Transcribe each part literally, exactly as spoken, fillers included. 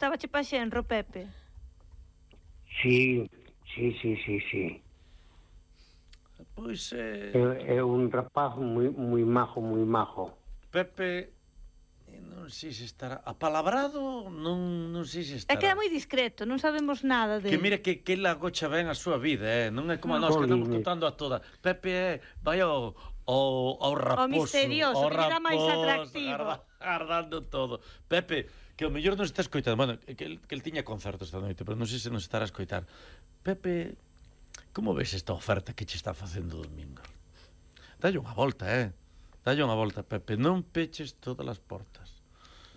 Estaba che pa xenro, Pepe? Sí, sí, sí, sí, sí. Pois eh... é, é un rapaz moi, moi majo, moi majo. Pepe, non sei se estará apalabrado, non, non sei se estará. É que é moi discreto, non sabemos nada de... Que mira que, que la gocha ben a súa vida, eh? Non é como a nós que estamos contando a toda. Pepe é, vai ao, ao, ao raposo, o misterioso, ao que lle dá máis raposo, atractivo. Arda, ardando todo. Pepe, que o mellor non está escoitando. Bueno, que el, que el tiña concerto esta noite, pero non sei se nos estará a escoitar. Pepe, como ves esta oferta que che está facendo o domingo? Dalle unha volta, eh? Dalle unha volta, Pepe. Non peches todas as portas.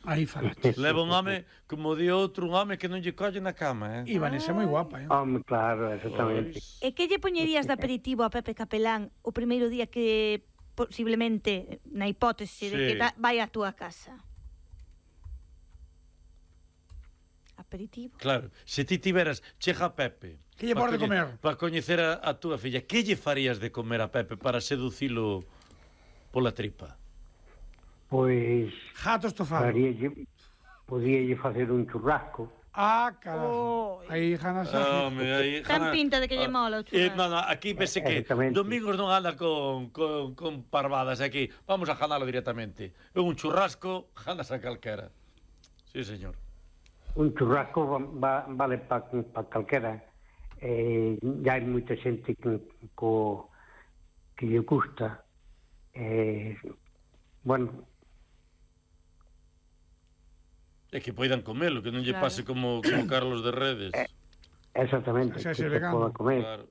Aí falaches. Leva un home, como di outro, un home que non lle colle na cama, eh? E Vanessa é moi guapa, eh? Home, claro, exactamente. E que lle poñerías de aperitivo a Pepe Capelán o primeiro día que, posiblemente, na hipótese de Sí. que ta- vai á túa casa? Aperitivo? Claro, se ti tiveras, chega Pepe. Que lle pode comer? Para coñecer a, a túa filla, que lle farías de comer a Pepe para seducilo pola tripa? Pois... Jato estofado. Faríalle, podíalle facer un churrasco. Ah, carajo. Oh. Aí, Jana, xa. Home, aí, Tan Jana- pinta de que lle Ah, mola o eh, churrasco. no, no, aquí pese que Exactamente. Domingos non anda con, con, con parvadas aquí. Vamos a janalo directamente. Un churrasco, janas a calquera. Sí, señor. Un churrasco va, va, vale para pa calquera. Eh, ya hai moita xente que, co, que lle gusta. Eh, bueno, É que poidan comelo, que non lle Claro. pase como, como Carlos de Redes. exactamente, Xa que se se vegano. poda comer. Claro.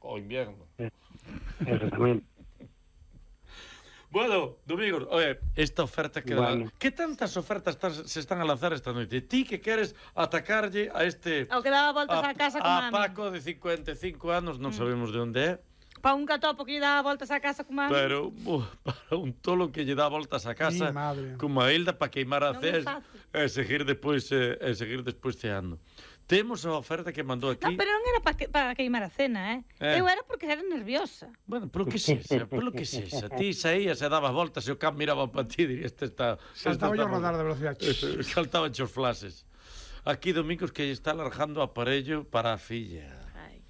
O invierno. Exactamente. Bueno, Domingos, oye, esta oferta que Bueno. dá... Que tantas ofertas estás, se están a lanzar esta noite? Ti que queres atacarlle a este... Ao que daba voltas á casa con a mami. Paco de cincuenta e cinco anos, non sabemos de onde é, Pa un catopo que lle daba voltas á casa con mami. pero uh, para un tolo que lle dá voltas a casa Mi madre. como a Hilda para queimar a Non é ces fácil. e seguir despois eh, e seguir despois ceando. Temos a oferta que mandou aquí. No, pero non era para que, pa queimar a cena, eh? Eh. Eu era porque era nerviosa. Bueno, polo que sexa, polo que sexa. Ti saías e dabas voltas e o can miraba para ti e diría, este está... Saltaba yo a rodar de velocidade. Saltaban os flases. Aquí Domingos que está alargando o aparello para a filla. Ai.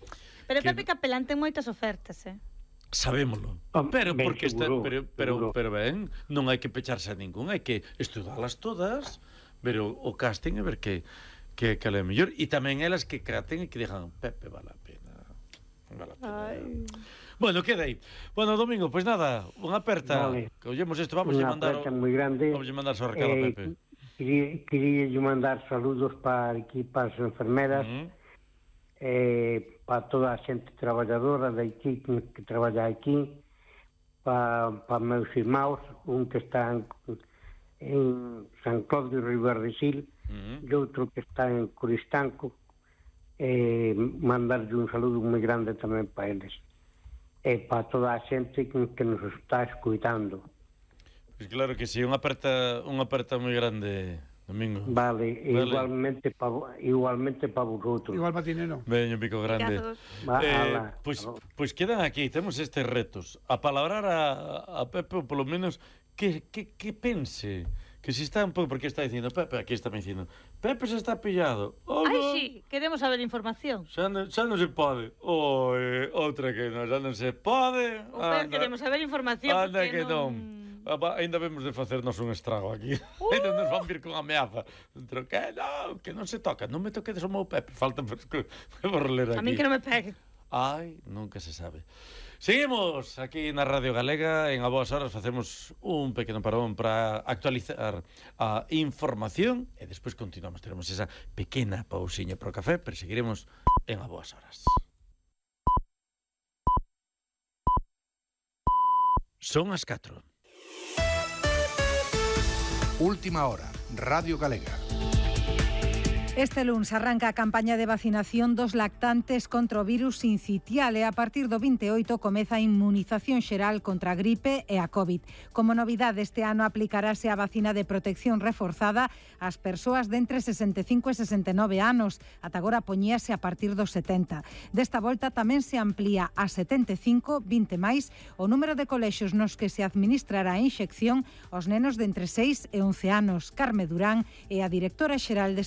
Pero Que- Pepe Capelán ten moitas ofertas, eh? Sabémolo. Home, Pero ben porque está, seguro, pero pero seguro. pero ben, non hai que pecharse a ningún, hai que estudalas todas, ver o, o casting e ver que que que é mellor e tamén elas que caten e que digan, Pepe, vale a pena. Vale a pena. Ai. Bueno, queda aí. Bueno, Domingo, pois pues nada, unha aperta. Vale. Que ollemos isto, vamos a Unha mandar aperta o, moi grande. vamos a mandar o recado a Eh, Pepe. Quería, quería yo mandar saludos para aquí, para as enfermeras, Mm. eh, para toda a xente traballadora de aquí, que, que traballa aquí, para, para meus irmãos, un que está en, en San Clodio Ribardesil, Mm. e outro que está en Coristanco, eh, mandarlle un saludo moi grande tamén para eles. E para toda a xente que, que nos está escuitando. Pois claro que sí, unha aperta, unha aperta moi grande, Domingo. Vale, Vale. igualmente para igualmente para vosotros. Igual patinero. Veño, pico grande. Picazos. Va, Eh, ala. pois, pois quedan aquí, temos estes retos. A palabrar a, a Pepe, ou polo menos, que, que, que pense. Que se está un pouco, porque está dicindo Pepe, aquí está me dicindo Pepe se está pillado. Oh, Ai, no. sí, queremos saber información. Xa non, xa non se pode. Oh, eh, outra que non, xa non se pode. O Pepe, queremos saber información Anda porque que non. Ah, ainda vemos de facernos un estrago aquí. Uh. Ainda nos van vir con ameaza. Dentro que non, que non se toca. Non me toquedes o meu Pepe. Falta fresco. Vou ler aquí. A min que non me pegue. Ai, nunca se sabe. Seguimos aquí na Radio Galega. En A Boas Horas facemos un pequeno parón para actualizar a información e despois continuamos. Teremos esa pequena pausiña para o café, pero seguiremos en A Boas Horas. Son as catro. Última hora, Radio Galega. Este luns arranca a campaña de vacinación dos lactantes contra o virus sincitial e a partir do vinte e oito comeza a inmunización xeral contra a gripe e a COVID. Como novidade, este ano aplicarase a vacina de protección reforzada ás persoas de entre sesenta e cinco e sesenta e nove anos. Ata agora poñíase a partir dos setenta. Desta volta tamén se amplía a setenta e cinco, vinte máis, o número de colexios nos que se administrará a inxección aos nenos de entre seis e once anos. Carme Durán é a directora xeral de Saúde